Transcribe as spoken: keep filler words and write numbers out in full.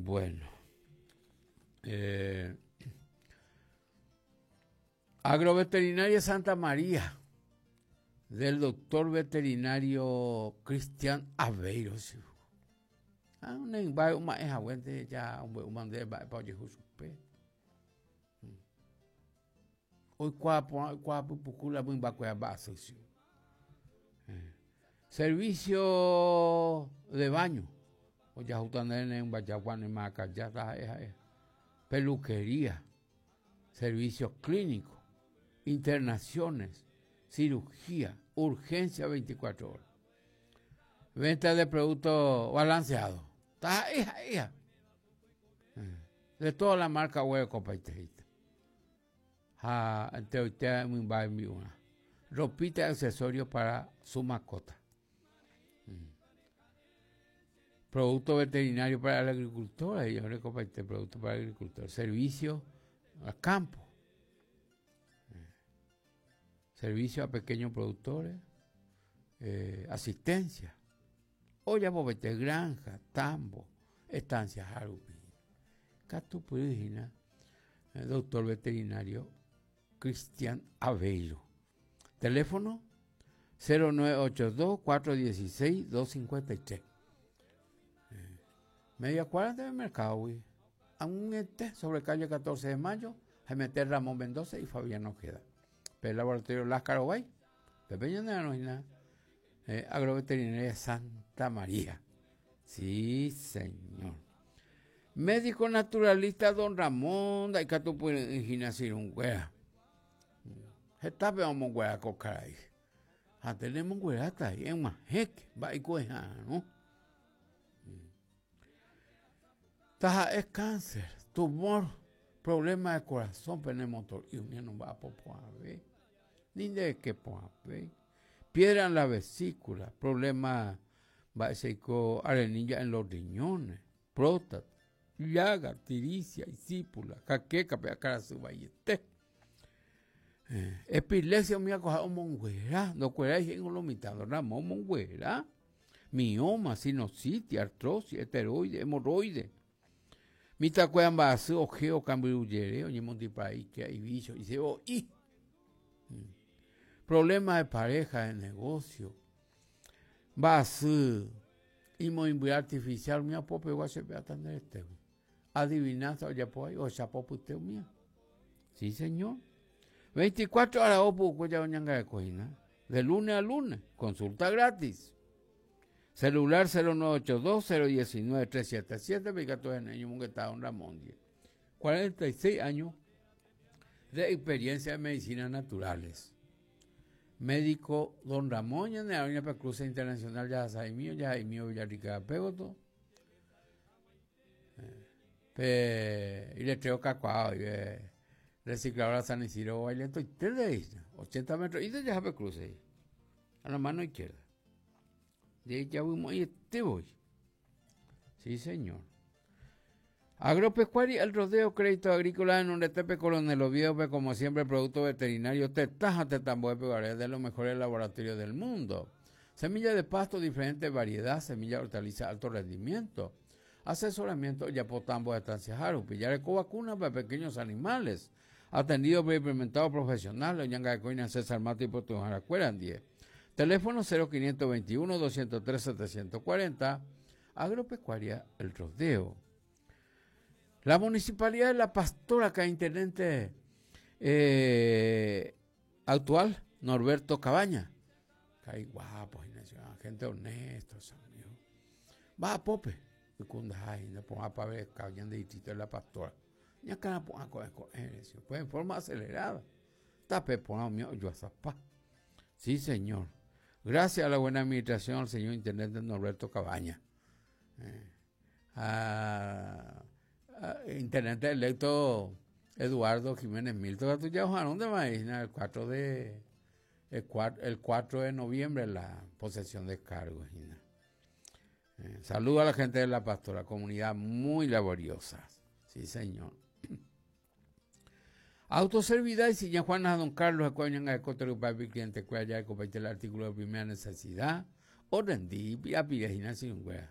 Bueno. Eh, Agroveterinaria Santa María, del doctor veterinario Cristian Aveiro. Ah, ya oikuaa porã oikuaa pypuku la mymbakuéra mba'asy. Servicio de baño ojahúta ndéve ne rymba ne marakaja taha'e ha'e peluquería, servicio clínico, internaciones, cirugía, urgencia veinticuatro horas, venta de productos balanceados, taha'e ha'éha de toda la marca oguerekopaite ha enteroite mymba rembi'urã, ropita y accesorios para su mascota. Producto veterinario para el agricultor, ahí orekopaite producto para el agricultor, servicio a campo, servicio a pequeños productores, eh, asistencia, ojapopaite granja, tambo, estancia rupi. Katupyry hína doctor veterinario Cristian Aveiro. Teléfono cero nueve ocho dos, cuatro dieciséis, dos cincuenta y tres. Media cuadra del mercado, güey. Aún este, sobre calle catorce de mayo, G M T Ramón Mendoza y Fabián Ojeda. Pero el laboratorio Láscaro Bay, Pepe Ñanderanojina, eh, Agroveterinaria Santa María. Sí, señor. Médico naturalista Don Ramón, Daikatupyry'ỹhína Sirunguera. Hetape omonguera ko karai. Ha tenemongueráta eg̃uahẽke mba'eikuaeha'arõ. Taha'e cáncer, tumor, problema de corazón penemotor'i umi nomba'apo porãve, ni ndeke porãve, piedra en la vesícula, problema mba'echeiko arenilla en los riñones, próstata, llaga, tiricia, isípula, jaqueca, pe akarasy vaiete. Eh, epilepsia umi akoha omonguera, ndokuerái he'i lo mitã Don Ramón omonguera. Mioma, sinusitis, artrosis, esteroide, hemorroide. Mitãkuéra mba'asy ojeo kambyrujere oñemondipaíke ibicho isevo'i. Problema de pareja, de negocio. Mba'asy imoimby artificial umi apopegua chepe'áta nderetégui. Adivinanza ojapo ahí ohechapopyte umía. Sí, señor. veinticuatro horas opuku ya oñangarekohína. De lunes a lunes. Consulta gratis. Celular cero nueve ocho dos, cero diecinueve, tres siete siete, Picato de Neño Munguetá, Don Ramón Díaz. cuarenta y seis años de experiencia en medicinas naturales. Médico Don Ramón, Ñane Doña Cruce Internacional, ya Saimío, ya Saimío Villarrica Pégoto. Pe, y le traigo cacuao, y recicladora San Isidro, baile, estoy tres de ahí, ochenta metros, y de ya Cruce, a la mano izquierda. De ahí ya voy, y este voy. Sí, señor. Agropecuaria, El Rodeo, Crédito Agrícola en un Tepe Coronel Oviedo, pe, como siempre, producto veterinario, tetaja, tetambo, pe, de los mejores laboratorios del mundo. Semilla de pasto, diferente variedad, semilla de hortaliza, alto rendimiento. Asesoramiento, yapotambo de estancia Jarupi, yareco vacuna para pequeños animales. Atendido por implementado profesional, Oñanga de Coina, César Mato y Puerto Jaracuera, diez. Teléfono cero quinientos veintiuno, doscientos tres, setecientos cuarenta. Agropecuaria El Rodeo. La Municipalidad de La Pastora, acá intendente, eh, actual, Norberto Cabaña. Caí guapo, Ignacio, gente honesta, amigo. Va a Pope, y cunda, y no ponga pa' ver Cabaña de distrito de La Pastora. Ya acá no ponga con, con, eh, pues en forma acelerada. Tape ponga mío, yo a zapá. Sí, señor. Gracias a la buena administración al señor intendente Norberto Cabaña. Eh, a, a, intendente electo Eduardo Jiménez Milton, tú ya ojaron de maíz, el cuatro de, el cuatro, el cuatro de noviembre la posesión de cargos. Eh, saludo a la gente de La Pastora, comunidad muy laboriosa. Sí, señor. Autoservidad y si Juana Don Carlos, Ecuañanga de Coto, Papi, cliente, cuya ya el artículo de primera necesidad, o rendí, a Pirejina sin hueá.